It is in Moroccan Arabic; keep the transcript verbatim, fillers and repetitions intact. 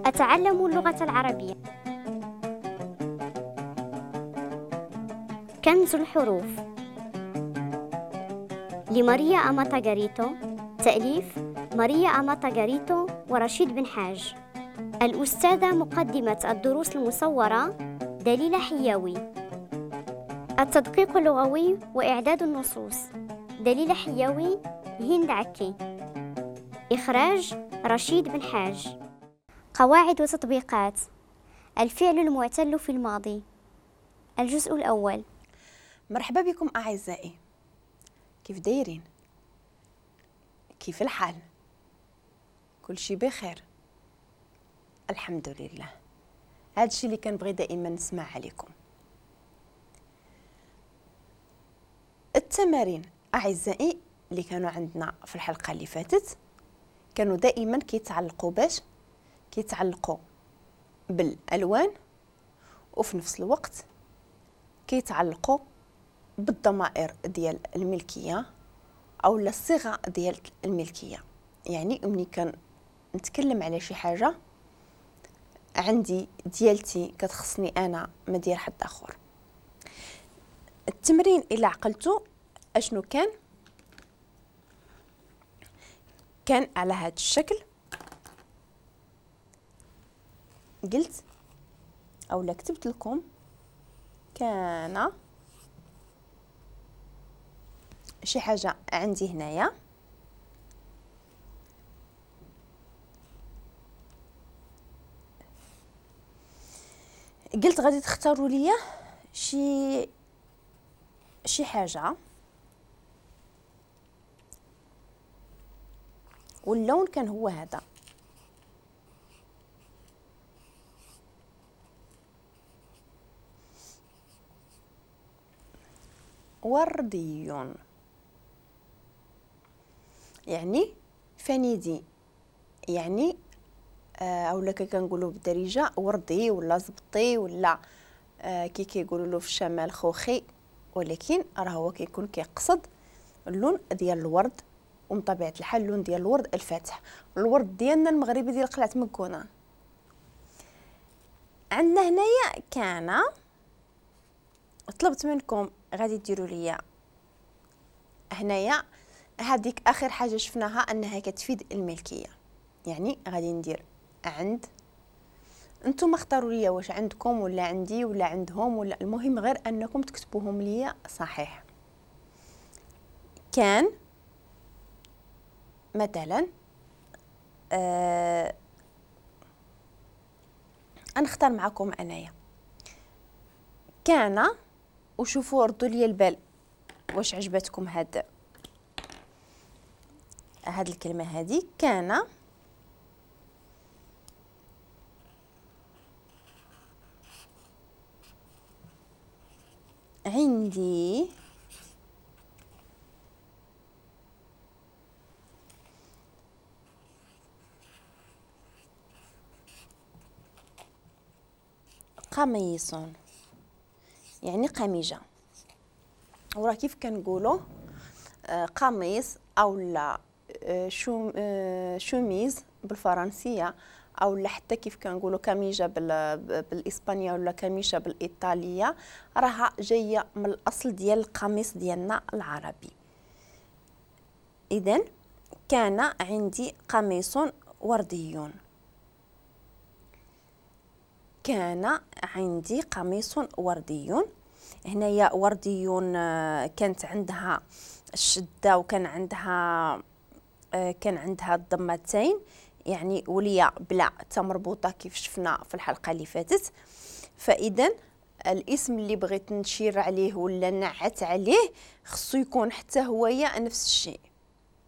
أتعلم اللغة العربية. كنز الحروف لماريا أماتا غاريتو، تأليف ماريا أماتا غاريتو ورشيد بن حاج. الأستاذة مقدمة الدروس المصورة دليلة حياوي. التدقيق اللغوي وإعداد النصوص دليلة حياوي، هند عكي. إخراج رشيد بن حاج. قواعد وتطبيقات الفعل المعتل في الماضي، الجزء الأول. مرحبا بكم أعزائي، كيف دايرين؟ كيف الحال؟ كل شي بخير الحمد لله. هذا الشيء اللي كنبغي دائما نسمع عليكم. التمارين أعزائي اللي كانوا عندنا في الحلقة اللي فاتت كانوا دائما كيتعلقوا باش كيتعلقوا بالألوان، وفي نفس الوقت كيتعلقوا بالضمائر ديال الملكية أو الصيغة ديال الملكية. يعني ملي كنتكلم على شي حاجة عندي ديالتي كتخصني أنا ما ديال حد آخر. التمرين إلا عقلتو أشنو كان؟ كان على هذا الشكل. قلت أو لا كتبت لكم كان شي حاجة عندي هنايا، قلت غادي تختاروا ليا شي شي حاجة، واللون كان هو هذا. وردي، يعني فنيدي، يعني آه اولا كنقولوا بالدارجة وردي ولا زبطي ولا آه كي كيقولوا له في الشمال خوخي، ولكن راه هو كيكون كيقصد اللون ديال الورد، ومن طبيعة الحال اللون ديال الورد الفاتح، الورد ديالنا المغربي ديال قلعه مكونة. عندنا هنايا كان، طلبت منكم غادي ديروا ليا هنايا هذيك اخر حاجة شفناها انها كتفيد الملكية، يعني غادي ندير عند. انتم اختاروا ليا واش عندكم ولا عندي ولا عندهم ولا، المهم غير انكم تكتبوهم ليا صحيح. كان مثلا آه نختار معكم انايا كان، وشوفوا ردوا لي البال واش عجبتكم هاد هاد الكلمة هذه. كان عندي قميص، يعني قميجه. وراه كيف كنقولوا قميص او لا شوميز بالفرنسيه، او لا حتى كيف كنقولوا كاميجه بالاسبانيه ولا كاميشه بالايطاليه، راها جاية من الاصل ديال القميص ديالنا العربي. اذا كان عندي قميص وردي، كان عندي قميص وردي. هنايا وردي كانت عندها الشدة وكان عندها كان عندها الضمتين، يعني وليا بلا تا مربوطة كيف شفنا في الحلقة اللي فاتت. فاذا الاسم اللي بغيت نشير عليه ولا نعت عليه خصو يكون حتى هويا نفس الشيء.